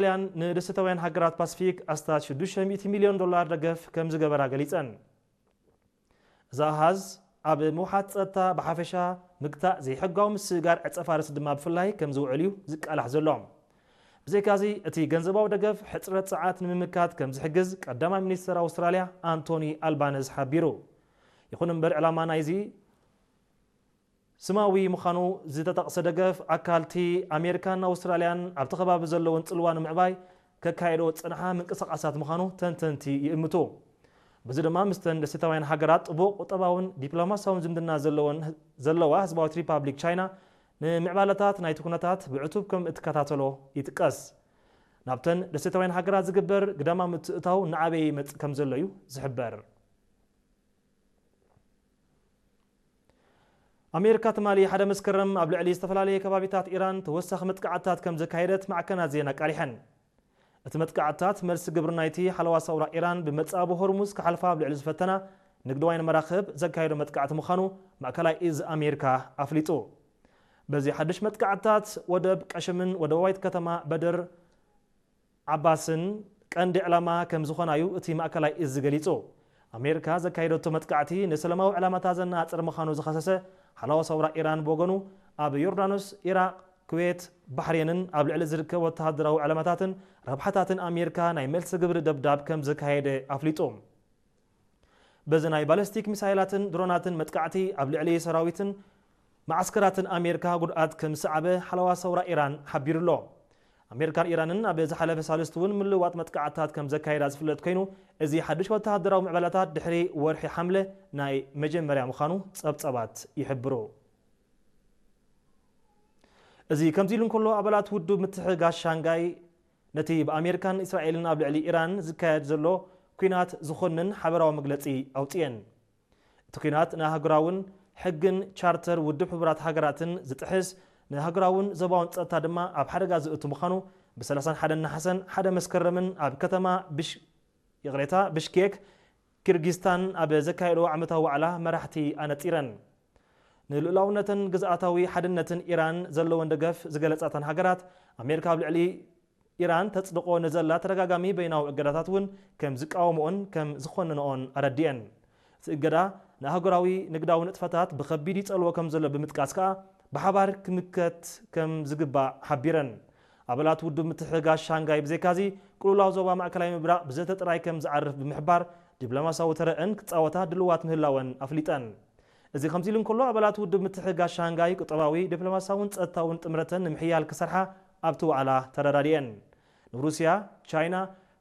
ኣውስትራልያን ንደሴታውያን ሃገራት ፓሲፊክ ኣስታት ሽዱሽተ ሚእቲ ሚልዮን ዶላር ደገፍ ከም ዝገበራ ገሊጸን። እዚ ኣሃዝ ኣብ ምውሓት ጸጥታ ብሓፈሻ፣ ምግታእ ዘይሕጋዊ ምስግጋር ዕጸ ፋርስ ድማ ብፍላይ ከም ዝውዕል እዩ ዝቃላሕ ዘሎ። ብዘይካዚ፣ እቲ ገንዘባዊ ደገፍ ሕጽረት ጸዓት ንምምካት ከም ዝሕግዝ ቀዳማይ ሚኒስተር ኣውስትራልያ ኣንቶኒ ኣልባነዝ ሓቢሩ። ይኹን እምበር፣ ዕላማ ናይዚ ስማዊ ምዃኑ ዝተጠቕሰ ደገፍ፣ ኣካልቲ ኣሜሪካን ኣውስትራልያን ኣብቲ ከባቢ ዘለውን ጽልዋ ንምዕባይ ከካየዶ ዝጸንሓ ምንቅስቓሳት ምዃኑ ተንተንቲ ይእምቱ። በዚ ድማ፣ ምስተን ደሴታውያን ሃገራት ጥቡቕ ቁጠባውን ዲፕሎማሲያውን ዝምድና ዘለወን፣ ዘለዋ ህዝባዊት ሪፓብሊክ ቻይና፣ ንምዕባለታት ናይቲ ኩነታት ብዕቱብ ከም እትከታተሎ ይጥቀስ። ናብተን ደሴታውያን ሃገራት ዝግበር ግዳማዊ ምትእታው እናዓበየ ይመጽእ ከም ዘሎ እዩ ዝሕበር። ኣሜሪካ ትማሊ ሓደ መስከረም ኣብ ልዕሊ ዝተፈላለየ ከባቢታት ኢራን ተወሳኺ መጥቃዕትታት ከም ዘካየደት ማዕከናት ዜና ኣቃሊሐን። እቲ መጥቃዕትታት፣ መልሲ ግብሪ ናይቲ ሓለዋ ሰውራ ኢራን ብመጻብቦ ሆርሙዝ ክሓልፋ ኣብ ልዕሊ ዝፈተና ንግዳውያን መራኽብ ዘካየዶ መጥቃዕቲ ምዃኑ ማእከላይ እዝ ኣሜሪካ ኣፍሊጡ። በዚ ሓድሽ መጥቃዕትታት፣ ወደብ ቀሽምን ወደባዊት ከተማ በድር ዓባስን ቀንዲ ዕላማ ከም ዝኾና እዩ እቲ ማእከላይ እዝ ገሊጹ። ኣሜሪካ ዘካየደቶ መጥቃዕቲ ንሰላማዊ ዕላማታት ዘነጻጽር ምዃኑ ዝኸሰሰ ሓለዋ ሰውራ ኢራን ብወገኑ፣ ኣብ ዮርዳኖስ፣ ኢራቕ፣ ኩዌት፣ ባሕሬንን ኣብ ልዕሊ ዝርከብ ወተሃደራዊ ዕላማታትን ረብሓታትን ኣሜሪካ ናይ መልሲ ግብሪ ደብዳብ ከም ዘካየደ ኣፍሊጡ። በዚ ናይ ባለስቲክ ሚሳይላትን ድሮናትን መጥቃዕቲ ኣብ ልዕሊ ሰራዊትን መዓስከራትን ኣሜሪካ ጉድኣት ከም ዝሰዓበ ሓለዋ ሰውራ ኢራን ሓቢሩ ኣሎ። ኣሜሪካን ኢራንን ኣብ ዝሓለፈ ሳልስቲ እውን ምልውዋጥ መጥቃዕትታት ከም ዘካየዳ ዝፍለጥ ኮይኑ፣ እዚ ሓድሽ ወተሃደራዊ ምዕባለታት ድሕሪ ወርሒ ሓምለ ናይ መጀመርያ ምዃኑ ጸብጸባት ይሕብሩ። እዚ ከምዚ ኢሉ እንከሎ፣ ኣባላት ውድብ ምትሕግጋዝ ሻንጋይ ነቲ ብኣሜሪካን እስራኤልን ኣብ ልዕሊ ኢራን ዝካየድ ዘሎ ኲናት ዝኾንን ሓበራዊ መግለጺ ኣውጽኤን። እቲ ኲናት ንኣህጉራውን ሕግን ቻርተር ውድብ ሕቡራት ሃገራትን ዝጥሕስ፣ ንኣህጉራውን ዞባውን ጸጥታ ድማ ኣብ ሓደጋ ዘእቱ ምዃኑ ብ ሰላሳን ሓደን ነሓሰን ሓደ መስከረምን ኣብ ከተማ ብሽ-፣ ይቕሬታ፣ ብሽኬክ ኪርጊስታን ኣብ ዘካየዶ ዓመታዊ ዋዕላ መራሕቲ ኣነጺረን። ንልኡላውነትን ግዝኣታዊ ሓድነትን ኢራን ዘለወን ደገፍ ዝገለጻ እተን ሃገራት፣ ኣሜሪካ ኣብ ልዕሊ ኢራን ተጽድቖ ንዘላ ተደጋጋሚ በይናዊ እገዳታት እውን ከም ዝቃወምኦን ከም ዝኾንንኦን ኣረዲኤን። እቲ እገዳ ንኣህጉራዊ ንግዳዊ ንጥፈታት ብኸቢድ ይጸልዎ ከም ዘሎ ብምጥቃስ ከኣ፣ ብሓባር ክምከት ከም ዝግባእ ሓቢረን። ኣባላት ውድብ ምትሕግጋዝ ሻንጋይ ብዘይካዚ፣ ቅልውላው ዞባ ማእከላይ ምብራቕ ብዘተ ጥራይ ከም ዝዓርፍ ብምሕባር፣ ዲፕሎማሲያዊ ተረአን ክጻወታ ድልዋት ምህላወን ኣፍሊጠን። እዚ ከምዚ ኢሉ እንከሎ፣ ኣባላት ውድብ ምትሕግጋዝ ሻንጋይ ቁጠባዊ፣ ዲፕሎማሲያውን ጸጥታውን ጥምረተን ንምሕያል ክሰርሓ ኣብቲ ዋዕላ ተረዳዲኤን። ንሩስያ፣ ቻይና፣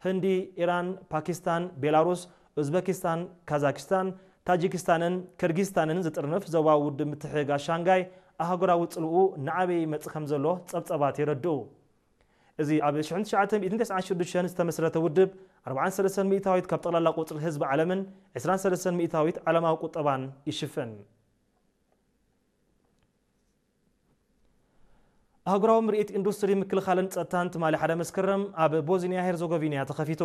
ህንዲ፣ ኢራን፣ ፓኪስታን፣ ቤላሩስ፣ ኡዝበኪስታን፣ ካዛኪስታን፣ ታጂኪስታንን ከርጊስታንን ዝጥርንፍ ዞባዊ ውድብ ምትሕግጋዝ ሻንጋይ ኣህጉራዊ ጽልኡ እናዓበየ ይመጽእ ከም ዘሎ ጸብጸባት የረድኡ። እዚ ኣብ ሽሕን ትሽዓተ ሚእትን ተስዓን ሽዱሽተን ዝተመስረተ ውድብ፣ ኣርባዓን ሰለስተን ሚእታዊት ካብ ጠቕላላ ቁጽሪ ህዝቢ ዓለምን ዕስራን ሰለስተን ሚእታዊት ዓለማዊ ቁጠባን ይሽፍን። ኣህጉራዊ ምርኢት ኢንዱስትሪ ምክልኻልን ጸጥታን ትማሊ ሓደ መስከረም ኣብ ቦዝኒያ ሄርዞጎቪና ተኸፊቱ።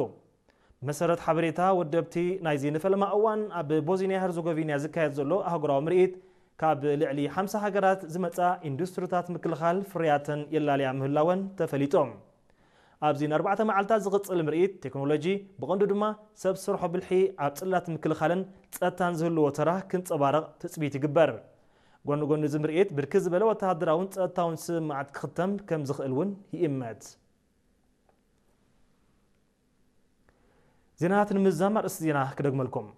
ብመሰረት ሓበሬታ ወደብቲ ናይዚ ንፈለማ እዋን ኣብ ቦዝኒያ ሄርዞጎቪና ዝካየድ ዘሎ ኣህጉራዊ ምርኢት፣ ካብ ልዕሊ ሓምሳ ሃገራት ዝመጻ ኢንዱስትሪታት ምክልኻል ፍርያተን የላልያ ምህላወን ተፈሊጦም። ኣብዚ ንኣርባዕተ መዓልታት ዝቕጽል ምርኢት፣ ቴክኖሎጂ፣ ብቐንዱ ድማ ሰብ ሰርሖ ብልሒ ኣብ ጽላት ምክልኻልን ጸጥታን ዝህልዎ ተራ ክንጸባረቕ ትጽቢት ይግበር። ጎኒ ጎኒ እዚ ምርኢት፣ ብርክት ዝበለ ወተሃደራውን ጸጥታውን ስምምዓት ክኽተም ከም ዝኽእል እውን ይእመት። ዜናታት ንምዝዛም ኣርእስቲ ዜና ክደግመልኩም።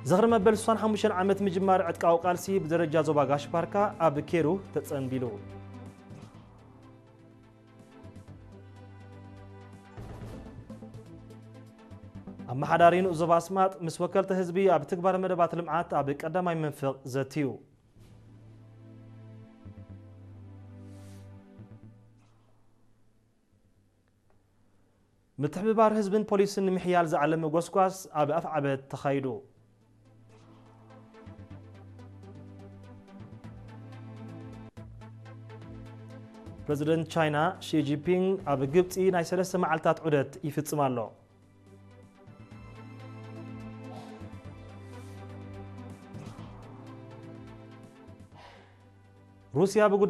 ዝኽሪ መበል ስሳን ሓሙሽተን ዓመት ምጅማር ዕጥቃዊ ቃልሲ ብደረጃ ዞባ ጋሽ ባርካ ኣብ ኬሩ ተጸንቢሉ። ኣመሓዳሪ ንኡስ ዞባ ኣስማጥ ምስ ወከልቲ ህዝቢ ኣብ ትግባረ መደባት ልምዓት ኣብ ቀዳማይ መንፍቕ ዘትዩ። ምትሕብባር ህዝብን ፖሊስን ንምሕያል ዝዓለመ ጎስጓስ ኣብ ኣፍዓበት ተኻይዱ። ፕረዚደንት ቻይና ሺ ጂንፒንግ ኣብ ግብጺ ናይ ሰለስተ መዓልታት ዑደት ይፍጽም ኣሎ። ሩስያ ብጉዳይ